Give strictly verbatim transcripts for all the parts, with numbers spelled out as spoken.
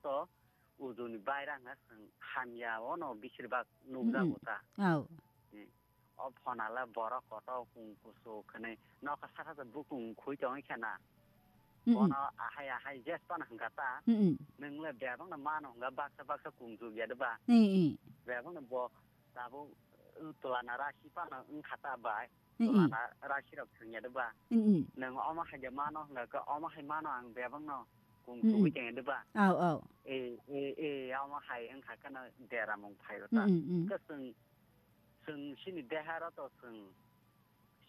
to ujuni baira hwnga chwng hamya ono bisir bak nukjago ta. Au. Hmm. O phonala borok kotor kung kusu khwnwi nokha saka bukung khui tongwi khena. Mm-mm. Bono ahai ahai jes pan hwnga ta. Mm-mm. Nwng le bebak no mano hwnga baksa baksa kung jugya de ba. Mm-mm. Bebak no bo tabuk, uh, tulana rasi pano wngkha ta bai. Mm-mm. Tulana rasi rok thwngya de ba. Mm-mm. Nwng omo hai de mano hwnga khe omo hai mano ang bebak no kung Mm-mm. sugwi tongya de ba. Au, au. E, e, e, omo hai wngkha kheno deramung phaio ta. Mm-mm, mm. Khe chwng, chwng chini deharo to chwng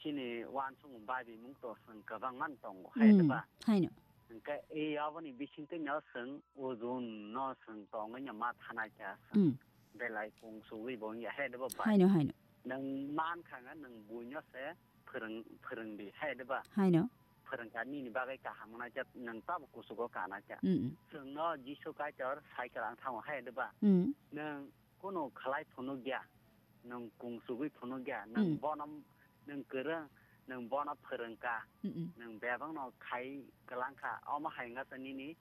chini uansukmung bai bimung to chwng kwbangma no tongo, hai de Mm, ba? Haino. Hwnkhe e aboni bisingtwi no chwng ujun no chwng tongwi no ma thanai kha chwng. Mm. Belai kung sugwi bo wngya, hai de ba bai? Haino, haino. Nwng man kha nga nwng buino se phwrwng, phwrwng di, hai de ba? Haino. Phwrwng kha nini bagwi kaham wngnai kha, nwng tabo kusugo kanai kha. Mm, mm. Chwng no Jisu Kaitor cycle ang thango, hai de ba? Mm. Nwng kunu khlai phunukya, nwng kung sugwi phunukya, nwng Mm. bono, nwng kwrwng, nwng bono phwrwngkha, Mm-mm. nwng bebakno khai kwlangkha, omo hai wngkha nini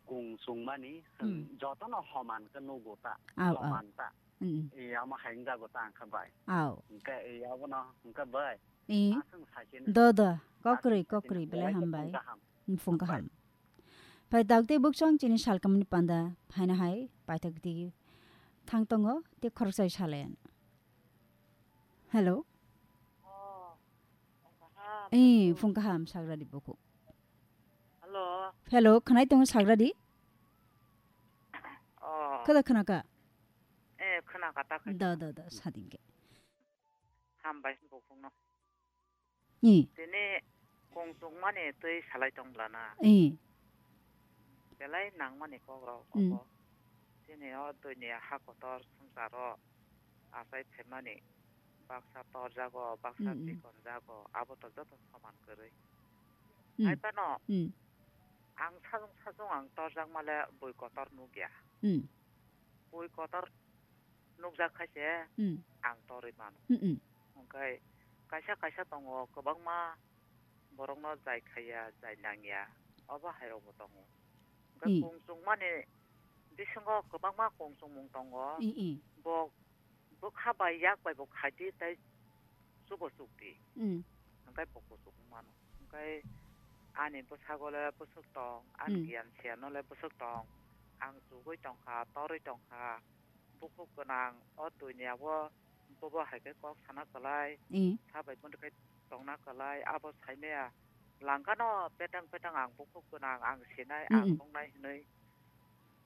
kung sungmani, chwng Mm. jotono homan khe nugo ta, Au, au. homan ta. Mm-mm. E, omo hai wngjago ta wngkha bai. Au. Hwnkhe e, abono wngkha bai. E. Aswng saichino. Do, do. Kokrwi, aswng saichino kokrwi, belai belai hambai. Phung kaham. Phung kaham. Bai. Phai daktwi bukchang chini salkamni panda phaina hai paithak di thang tongo, tei khoroksa salayan. Hello? Oh, phung kaham. Eh, phung kaham, sagradi buku. Hello? Hello, khnai tongo sagradi? Oh. Khada khnaka? Eh, khnaka ta khai. Da, da, da, sadingke. Hambai bukhukno. I. Tini kung chukmani twi salai tong bwlana. I. Belai nangmani kok rok Mm. obo. Chini o duinia ha kotor swngcharo achai phaimani baksa torjago, baksa Mm, mm. chikonjago, abo to joto soman kwrwi. Mm. Hai phano Mm. ang sajung sajung ang torjakma le bui kotor nukya. Mm. Bui kotor nukjak khai se Mm. ang torwi mano. Mm, mm. Hwnkhe kaisa kaisa tongo kwbangma borokno jai khaiya, jai nangya, obo hai rokbo tongo. Hwnkhe Mm. kung chukmani bisingo kwbangma kung chukmung tongo. Mm, mm. Bo bwkha bai yak bai bo khaidi tei chubo chukdi. Mm. Hwnkhe bo kuchuk wng mano. Hwnkhe ani bwsago le bwswk tong, ani Mm. giyan siyan no le bwswk tong. Ang chugui tongkha, torwi tongkha. Bukhuk gwnang o duinia o bobo hai khe kok sana kwlai, Mm. sabai muitu khe tongna kwlai, abo saimaya langkano petang petang ang bukhuk gwnang, ang sinai, ang Mm-mm. nuknai hinui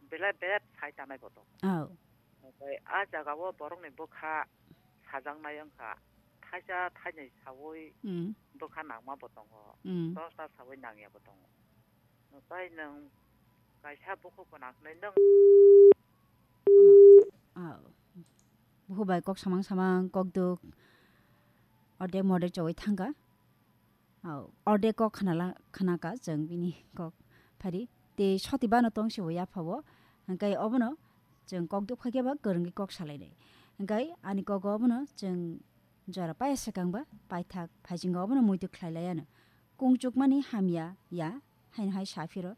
belai bebak sai tanai bo tongo. Oh. Omobai a jaga o borokni bwkha sajaknai wngkha, thaisa thainwi saui Mm. bwkha nangma bo tongo, Mm. dosta saui nangya bo tongo. Tei nwng kaisa bukhuk gwnang hwnwi nwng Ah, bukhuk bai kok samang samang, kok duk, ordek mordek chowui thangkha. Ah, ordek kok khnala, khnakha chwng bini kok phari. Tei soti bano tong se bo yapha o. Hwnkhe obono chwng kok duk phaikhe ba kwrwngwi kok salainai. Hwnkhe ani kok obono chwng jora paya swkang ba paithak phaisingo obono muitu khlai laiya no. Kung chukmani hamya ya, haino hai sa phiro.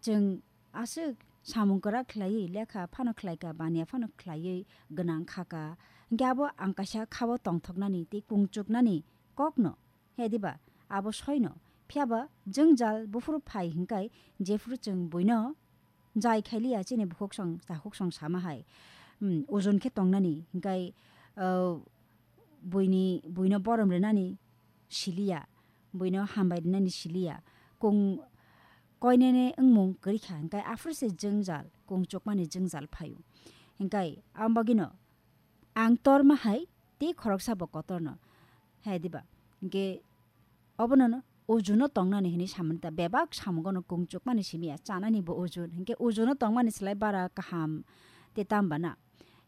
Chwng aswk samung kwrak khlaiwi lekha phano khlaikha, baniya phano khlaiwi gwnang khakha. Hwnkhe abo ang kaisa khao tongthoknani tei kung chuknani kokno, he diba? Abo soino. Phiya ba jwngjal buphuru phai hwnkhe jephuru chwng buino jai khailiya chini bukhuksong takhuksong sama hai, hmm, ojon khe tongnani hwnkhe, uh, buini, buino borom rwnani siliya, buino hambai rwnani siliya. Kung koinene wngmung kwrwikha, hwnkhe aphuru se jwngjal, kung chukmani jwngjal phaio. Hwnkhe amo bagwino ang torma hai tei khoroksa bo kotorno, hai diba? Hwnkhe obono no ojono tongnani hinwi samani ta, bebak samungono kung chukmani simiya, chanani bo ojon, hwnkhe ojono tongmani slai bara kaham tei tamo bana.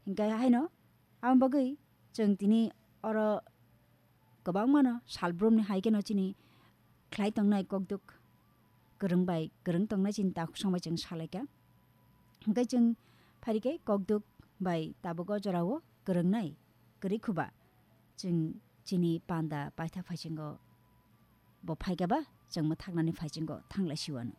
Hwnkhe haino amo bagwi chwng tini oro kwbangmano salbrumni hai kheno chini khlai tongnai kokduk kwrwng bai kwrwng tongnai chini takhuk song bai chwng salaikha. Hwnkhe chwng phairikhe kokduk bai tabuk o jorao kwrwngnai kwrwi khuba chwng chini panda paithak phaisingo bo phaikha ba chwng mwthaknani phaisingo thanglai siwano.